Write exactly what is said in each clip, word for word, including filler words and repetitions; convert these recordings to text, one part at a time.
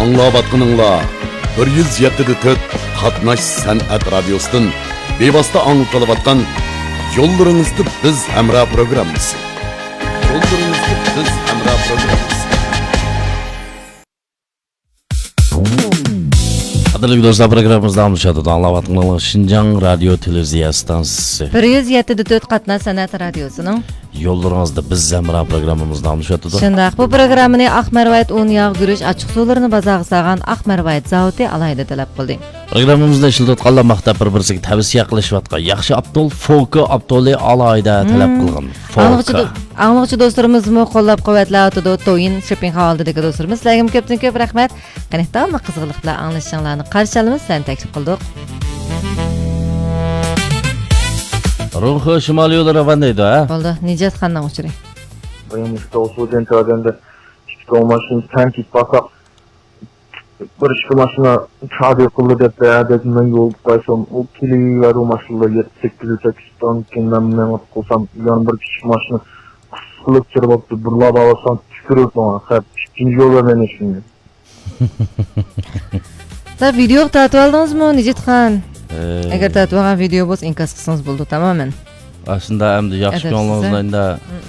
ئاڭلاۋاتقىنىڭلار بىر يۈز يەتتە دە تۆت قاتناش سەنئەت رادىيوسىدىن بىۋاسىتە ئاڭلىتىلىۋاتقان يوللىرىڭىزدا بىز ھەمراھ پروگراممىسى. يوللىرىڭىزدا بىز ھەمراھ پروگراممىسى. قەدىرلىك دوستلار، پروگراممىمىز داۋاملىشىۋاتىدۇ. ئاڭلاۋاتقىنىڭلار شىنجاڭ رادىيو تېلېۋىزىيە ئىستانسىسى. بىر يۈز يەتتە دە تۆت قاتناش سەنئەت رادىيوسىنىڭ يوللىرىڭىزدا بىز ھەمراھ پروگراممىمىز داۋاملىشىۋاتىدۇ. شۇنداق، بۇ پروگراممىنى ئاق مەرۋايىت ئۇن ياغ گۈرۈچ ئاچچىق سۇلىرىنى بازارغا سالغان ئاق مەرۋايىت زاۋۇتى ئالاھىدە تەلەپ قىلدى. پروگراممىمىزنى ئىشلىتىۋاتقانلار ماختاپ بىر-بىرسىگە تەۋسىيە قىلىشىۋاتقان ياخشى ئاپتول، فوكا ئاپتولى ئالاھىدە تەلەپ مم. قىلغان. ئاڭلىغۇچى فوكا. دو-، ئاڭلىغۇچى دوستلىرىمىزمۇ قوللاپ قۇۋۋەتلەۋاتىدۇ. تويىن شوپپىڭ ھالىدىكى دوستلىرىمىز، سىلەرگىمۇ كۆپتىن كۆپ رەھمەت. قېنى، داۋاملىق قىزغىنلىق بىلەن ئاڭلىشىڭلارنى قارشى ئالىمىز، سىلەرنى تەكلىپ قىلدۇق. رۇڭخې شىمالىي يولى راۋان دەيدۇ، ھە؟ بولدى، نىجاتخاننىڭ ئۇچۇرى. بايام مۇشۇ توغرىسىدا ئۆتكەن تەۋەدەمدە ئىككى توڭ ماشىنا تەڭ كېتىپ قالساق، بىر ئىككى ماشىنا چادىر قىلدى دەپ، ھەدەپ مەن يولدا قايسام، ئۇ كېلىۋەردى، ئۇ ماشىنىلار يەتتە سەككىز ئۆتەپ كېتىپتىكەن، مەن مېڭىپ قالسام، يەنە بىر كىچىك ماشىنا قىسىلىپ كىرىۋاپتۇ، بىرلا باۋاسان تۈكۈرۈپ ماڭا، خەپ ئىككىنچى يول بەرمەيمەن ھېچكىمگە. سىلەر ۋىدېوغا تارتىۋالدىڭىزمۇ، نىجاتخان؟ ھەي. ئەگەر تارتىۋالغان ۋىدېو بولسا، ئىنكاس قىلسىڭىز بولىدۇ، تامامەن. ئاشۇنداق ئەمدى ياخشى ئەدەپسىز، كۆڭلىڭىزنى ھە؟ ئەمدى مم.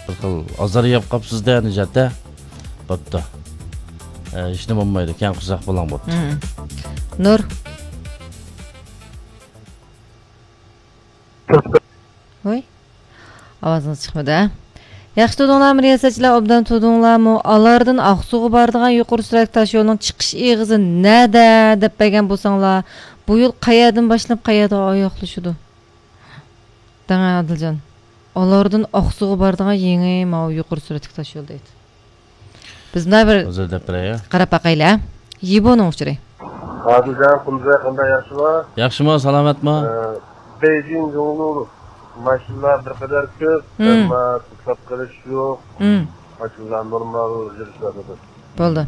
بىر خىل ئازار يەپ قاپسىز-دە، نىجات-ھە؟ بوپتۇ. ئە، ھېچنېمە بولمايدۇ، كەڭ قورساق بولۇڭ، بوپتۇ. مم. نۇر. ۋوي. ئاۋازىڭىز چىقمىدى، ھە؟ ياخشى تۇردۇڭلارمۇ، رىياسەتچىلەر؟ ئوبدان تۇردۇڭلارمۇ؟ ئالاردىن ئاقسۇغا بارىدىغان يۇقىرى سۈرئەتلىك تاشيولنىڭ چىقىش ئېغىزى نەدە دەپ بەرگەن بولساڭلار، بۇ يول قەيەردىن باشلىنىپ قەيەردە ئاياغلىشىدۇ؟ دەڭە ئادىلجان. ئالاردىن ئاقسۇغا بارىدىغان يېڭى ماۋۇ يۇقىرى سۈرئەتلىك تاشيول دەيدۇ. بىز مۇنداق بىر ھازىر دەپ بېرەي. قاراپ باقايلى، ھە؟ يىبونىڭ ئۇچۇرى. ئادىلجان، قۇمزاي، قانداق، ياخشىما؟ ياخشىما، سالامەتما؟ ئە، بېيجىڭ جۇڭلۇ ماشىنىلار بىر قەدەر كۆپ، مم. ئەمما توختاپ قېلىش يوق. مم. ماشىنىلار نورمال يۈرۈشلەردە. بولدى.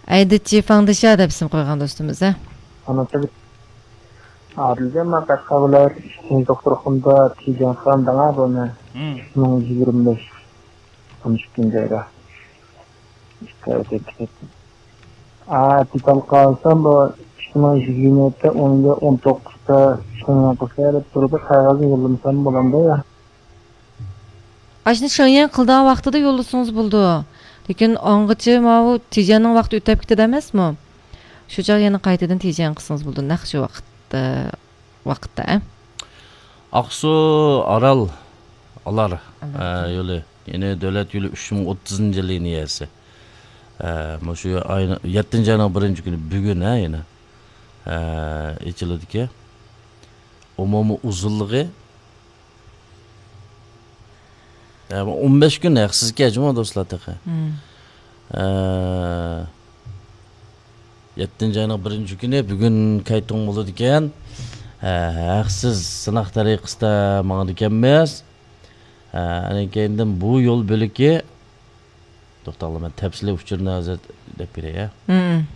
ئەيدىچى فاڭدىشا دەپ ئىسىم قويغان دوستىمىز، ھە؟ ئانا تىل. ئادىلجان، ماڭا قەشقەر ۋىلايەت ئىچكى دوختۇرخانىدا تىجەن خان دەڭا بۇنى. مم. ئىككى مىڭ يىگىرمە بەش. ئون ئىككىنچى ئايدا. ئىككى ئاي ئۆتۈپ كېتىپتۇ. ئا، دېتال قالسام، بۇ ئىككى مىڭ يىگىرمە يەتتە، ئون يەتتە، ئون توققۇزدا شۇنىڭ قىلسا دەپ تۇرۇپ، قەغەزنى يوللىمىسام بولامدۇ يا؟ ئاشۇنى شېڭيەن قىلىدىغان ۋاقتىدا يوللىسىڭىز بولىدۇ. لېكىن ئاڭغىچە ماۋۇ تىجەننىڭ ۋاقتى ئۆتۈپ كېتىدۇ ئەمەسمۇ؟ شۇ چاغ يەنە قايتىدىن تىجەن قىلسىڭىز بولىدۇ. نەق شۇ ۋاقىتتا، ۋاقىتتا، ئە؟ ئاقسۇ، ئارال، ئالار، ئالار. ئە، يولى. يەنى دۆلەت يولى ئۈچ مىڭ ئوتتۇزىنچى لىنىيەسى. ئە، مۇشۇ ئاينىڭ، يەتتىنچى ئاينىڭ بىرىنچى كۈنى بۈگۈن، ھە، يەنە، ئە، ئېچىلىدىكەن. ئومۇمىي ئۇزۇنلۇقى، ئە، ئون بەش كۈن ھەقسىزكەن جۇمۇ دوستلار تېخى. مم. ئە، يەتتىنچى ئاينىڭ بىرىنچى كۈنى بۈگۈن كەيتۇڭ بولىدىكەن. ئە، ھەقسىز سىناق تەرىقىسىدە ماڭىدىكەنمىز. ئە، ئاندىن كېيىندىن بۇ يول بۆلىكى، توختاڭلار، مەن تەپسىلىي ئۇچۇرنى ھازىر دەپ بېرەي، ھە؟ مم.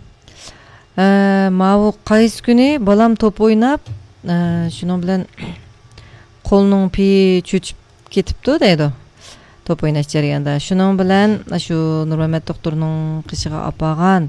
ئە، ماۋۇ قايسى كۈنى بالام توپ ئويناپ، ئە، شۇنىڭ بىلەن قولىنىڭ پېيى چۆچۈپ كېتىپتۇ دەيدۇ، توپ ئويناش جەريانىدا. شۇنىڭ بىلەن شۇ نۇرمەمەت دوختۇرنىڭ قېشىغا ئاپارغان،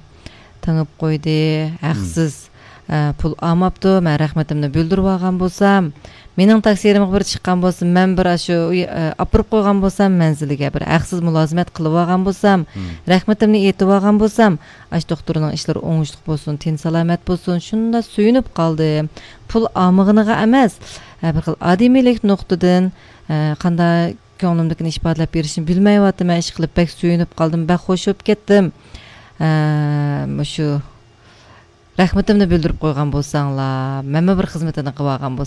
تېڭىپ قويدى، ھەقسىز، ئە، پۇل ئالماپتۇ، مەن رەھمىتىمنى بىلدۈرۈۋالغان بولسام، مېنىڭ تەقسىرىمغا بىر چىققان بولسا، مەن بىر ئاشۇ، ئە، ئاپىرىپ قويغان بولسام مەنزىلىگە، بىر ھەقسىز مۇلازىمەت قىلىۋالغان بولسام، مم. رەھمىتىمنى ئېيتىۋالغان بولسام، ئاشۇ دوختۇرنىڭ ئىشلىرى ئوڭۇشلۇق بولسۇن، تېنى سالامەت بولسۇن، شۇنداق سۆيۈنۈپ قالدىم. پۇل ئالمىغىنىغا ئەمەس، ئە، بىر خىل ئادىمىيلىك نۇقتىدىن، ئە، قانداق كۆڭلۈمدىكىنى ئىپادىلەپ بېرىشنى بىلمەيۋاتىمەن، ئىشقىلىپ بەك سۆيۈنۈپ قالدىم، بەك خوش بولۇپ كەتتىم. ئە، مۇشۇ رەھمىتىمنى بىلدۈرۈپ قويغان بولساڭلار، مەنمۇ بىر خىزمىتىنى قىلىۋالغان بولسام.